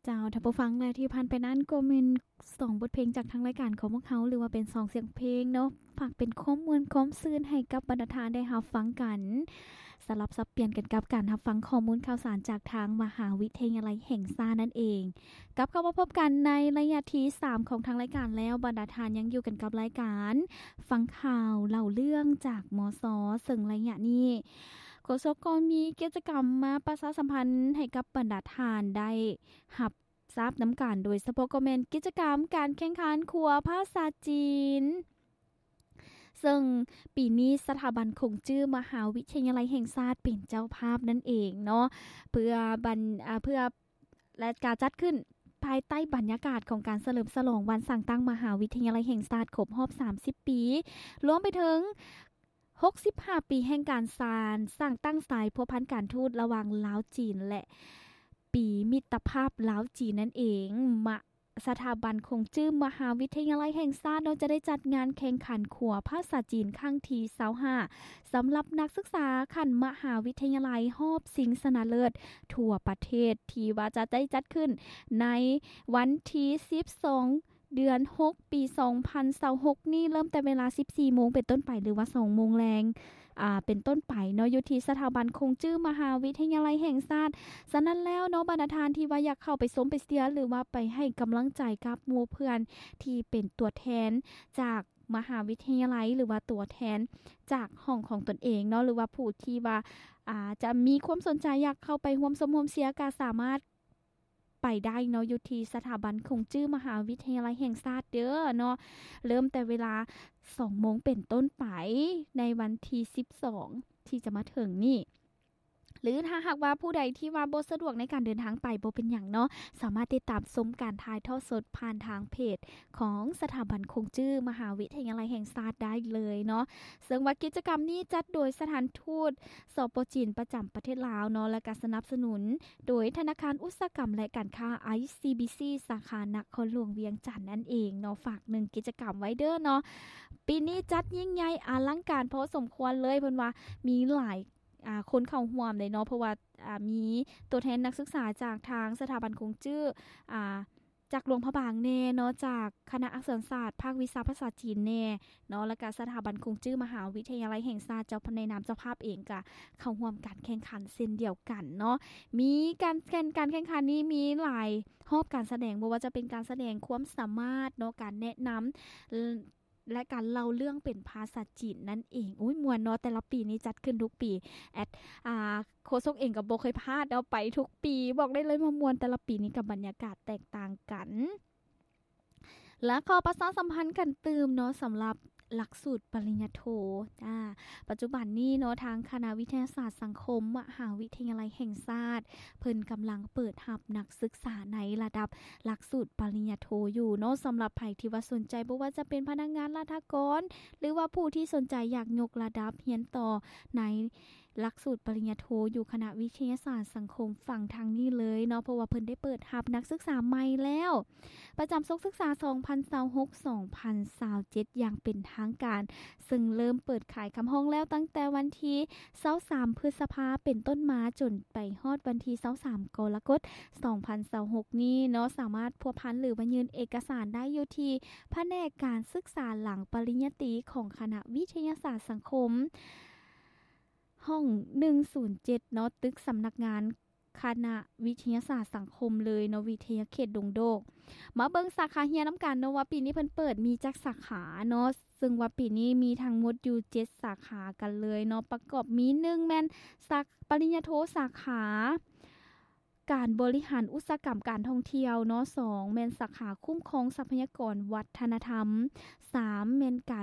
ເຈົ້າ ທ່ານຜູ້ຟັງ ແລະ ທີ່ຜ່ານໄປນັ້ນກໍແມ່ນສອງບົດເພງຈາກທາງລາຍການຂອງພວກເຮົາ ຫຼືວ່າເປັນສອງສຽງເພງເນາະ ຝາກເປັນຄວາມມ່ວນຄວາມຊື່ນໃຫ້ກັບບັນດາທ່ານໄດ້ຮັບຟັງກັນ. ສະຫຼັບສັບປ່ຽນກັນກັບການຮັບຟັງຂໍ້ມູນຂ່າວສານຈາກທາງມະຫາວິທະຍາໄລແຫ່ງຊາດນັ້ນເອງ. ກັບເຂົ້າມາພົບກັນໃນໄລຍະທີສາມຂອງທາງລາຍການແລ້ວ, ບັນດາທ່ານຍັງຢູ່ກັນກັບລາຍການຟັງຂ່າວເລົ່າເລື່ອງຈາກ ມສ ເຊິ່ງໄລຍະນີ້ ໂຄສົກກໍມີກິດຈະກຳມາປະຊາສຳພັນໃຫ້ກັບບັນດາທ່ານໄດ້ຮັບຊາບນຳກັນ, ໂດຍສະເພາະກໍແມ່ນກິດຈະກຳການແຂ່ງຂັນຂົວພາສາຈີນ ເຊິ່ງປີນີ້ສະຖາບັນຂົງຈື້ມະຫາວິທະຍາໄລແຫ່ງຊາດເປັນເຈົ້າພາບນັ້ນເອງເນາະ ເພື່ອບັນ ອາ ເພື່ອ ແລະ ການຈັດຂຶ້ນພາຍໃຕ້ບັນຍາກາດຂອງການສະເຫຼີມສະຫຼອງວັນສ້າງຕັ້ງມະຫາວິທະຍາໄລແຫ່ງຊາດຄົບຮອບສາມສິບປີ ລວມໄປເຖິງຫົກສິບຫ້າປີແຫ່ງການສ້າງ ສ້າງຕັ້ງສາຍພົວພັນການທູດລະຫວ່າງລາວ-ຈີນ ແລະ ປີມິດຕະພາບລາວ-ຈີນນັ້ນເອງ. ມະ ສະຖາບັນຂົງຈື້ມະຫາວິທະຍາໄລແຫ່ງຊາດເນາະ ຈະໄດ້ຈັດງານແຂ່ງຂັນຂົວພາສາຈີນຄັ້ງທີຊາວຫ້າ ສຳລັບນັກສຶກສາຂັ້ນມະຫາວິທະຍາໄລຮອບຊິງຊະນະເລີດທົ່ວປະເທດ ທີ່ວ່າຈະໄດ້ຈັດຂຶ້ນໃນວັນທີສິບສອງ ເດືອນຫົກ ປີສອງພັນຊາວຫົກນີ້ ເລີ່ມແຕ່ເວລາສິບສີ່ໂມງເປັນຕົ້ນໄປ ຫຼືວ່າສອງໂມງແລງ ອາ ເປັນຕົ້ນໄປເນາະ ຢູ່ທີ່ສະຖາບັນຂົງຈື້ມະຫາວິທະຍາໄລແຫ່ງຊາດ. ສະນັ້ນແລ້ວເນາະ ບັນດາທ່ານທີ່ວ່າຢາກເຂົ້າໄປຊົມໄປເຊຍ ຫຼືວ່າໄປໃຫ້ກຳລັງໃຈກັບໝູ່ເພື່ອນທີ່ເປັນຕົວແທນຈາກມະຫາວິທະຍາໄລ ຫຼືວ່າຕົວແທນຈາກຫ້ອງຂອງຕົນເອງເນາະ ຫຼືວ່າຜູ້ທີ່ວ່າ ອາ ຈະມີຄວາມສົນໃຈຢາກເຂົ້າໄປຮ່ວມຊົມຮ່ວມເຊຍ ກໍສາມາດ ໄປໄດ້ເນາະ ຢູ່ທີ່ສະຖາບັນຂົງຈື້ມະຫາວິທະຍາໄລແຫ່ງຊາດເດີເນາະ ເລີ່ມແຕ່ເວລາສອງໂມງເປັນຕົ້ນໄປ ໃນວັນທີສິບສອງ ທີ່ຈະມາເຖິງນີ້ ຫຼືຖ້າຫາກວ່າຜູ້ໃດທີ່ວ່າບໍ່ສະດວກໃນການເດີນທາງໄປ ບໍ່ເປັນຫຍັງເນາະ ສາມາດຕິດຕາມຊົມການຖ່າຍທອດສົດຜ່ານທາງເພຈຂອງສະຖາບັນຂົງຈື້ມະຫາວິທະຍາໄລແຫ່ງຊາດໄດ້ເລີຍເນາະ. ເຊິ່ງວ່າກິດຈະກຳນີ້ຈັດໂດຍສະຖານທູດ ສປ ຈີນ ປະຈຳປະເທດລາວເນາະ ແລະ ກະສະໜັບສະໜູນ ໂດຍທະນາຄານອຸດສາຫະກຳ ແລະ ການຄ້າ ໄອຊີບີຊີ ສາຂານະຄອນຫຼວງວຽງຈັນນັ້ນເອງເນາະ. ຝາກໜຶ່ງກິດຈະກຳໄວ້ເດີເນາະ. ປີນີ້ຈັດຍິ່ງໃຫຍ່ອະລັງການພໍສົມຄວນເລີຍ ເພິ່ນວ່າມີຫຼາຍ ອາ ຄົນເຂົ້າຮ່ວມເດ້ເນາະ ເພາະວ່າ ອາ ມີຕົວແທນນັກສຶກສາຈາກທາງສະຖາບັນຂົງຈື້ ອາ ຈາກຫຼວງພະບາງແດ່ເນາະ ຈາກຄະນະອັກສອນສາດພາກວິຊາພາສາຈີນແດ່ເນາະ ແລ້ວກະສະຖາບັນຂົງຈື້ມະຫາວິທະຍາໄລແຫ່ງຊາດ ເຈົ້າ ໃນນາມເຈົ້າພາບເອງກະເຂົ້າຮ່ວມການແຂ່ງຂັນເຊັ່ນດຽວກັນເນາະ. ມີການແຂ່ງ ການແຂ່ງຂັນນີ້ມີຫຼາຍຮອບການສະແດງ ບໍ່ວ່າຈະເປັນການສະແດງຄວາມສາມາດເນາະ ການແນະນຳ ແລະ ການເລົ່າເລື່ອງເປັນພາສາຈີນນັ້ນເອງ. ໂອ້ຍ ມ່ວນເນາະ ແຕ່ລະປີນີ້ຈັດຂຶ້ນທຸກປີ ແອດ ອາ ໂຄສົກເອງກໍບໍ່ເຄີຍພາດເນາະ ໄປທຸກປີ ບອກໄດ້ເລີຍວ່າມ່ວນ ແຕ່ລະປີນີ້ກໍບັນຍາກາດແຕກຕ່າງກັນ. ແລະ ຂໍປະຊາສຳພັນກັນຕື່ມເນາະ ສຳລັບຫຼັກສູດປະລິນຍາໂທ ອາ ປັດຈຸບັນນີ້ເນາະ ທາງຄະນະວິທະຍາສາດສັງຄົມ ມະຫາວິທະຍາໄລແຫ່ງຊາດ ເພິ່ນກຳລັງເປີດຮັບນັກສຶກສາໃນລະດັບຫຼັກສູດປະລິນຍາໂທຢູ່ເນາະ. ສຳລັບໃຜທີ່ວ່າສົນໃຈ ບໍ່ວ່າຈະເປັນພະນັກງານລັດຖະກອນ ຫຼືວ່າຜູ້ທີ່ສົນໃຈຢາກຍົກລະດັບຮຽນຕໍ່ໃນ ຫຼັກສູດປະລິນຍາໂທຢູ່ຄະນະວິທະຍາສາດສັງຄົມ ຟັງທາງນີ້ເລີຍເນາະ ເພາະວ່າເພິ່ນໄດ້ເປີດຮັບນັກສຶກສາໃໝ່ແລ້ວ ປະຈຳສົກສຶກສາສອງພັນຊາວຫົກ ສອງພັນຊາວເຈັດ ຢ່າງເປັນທາງການ ເຊິ່ງເລີ່ມເປີດຂາຍຄຳຮ້ອງແລ້ວຕັ້ງແຕ່ວັນທີຊາວສາມ ພຶດສະພາ ເປັນຕົ້ນມາ ຈົນໄປຮອດວັນທີຊາວສາມ ກໍລະກົດ ສອງພັນຊາວຫົກນີ້ເນາະ. ສາມາດພົວພັນ ຫຼືວ່າຍື່ນເອກະສານໄດ້ຢູ່ທີ່ພະແນກການສຶກສາຫຼັງປະລິນຍາຕີຂອງຄະນະວິທະຍາສາດສັງຄົມ ຫ້ອງໜຶ່ງສູນເຈັດເນາະ ຕຶກສຳນັກງານຄະນະວິທະຍາສາດສັງຄົມເລີຍເນາະ ວິທະຍາເຂດດົງໂດກ. ມາເບິ່ງສາຂາຮຽນນຳກັນເນາະ ວ່າປີນີ້ເພິ່ນເປີດມີຈັກສາຂາເນາະ ເຊິ່ງວ່າປີນີ້ມີທັງໝົດຢູ່ເຈັດສາຂາກັນເລີຍເນາະ ປະກອບມີ ໜຶ່ງ ແມ່ນສາ ປະລິນຍາໂທສາຂາ ການບໍລິຫານອຸດສາຫະກຳການທ່ອງທ່ຽວເນາະ, ສອງ ແມ່ນສາຂາຄຸ້ມຄອງຊັບພະຍາກອນວັດທະນະທຳ, ສາມ ແມ່ນການ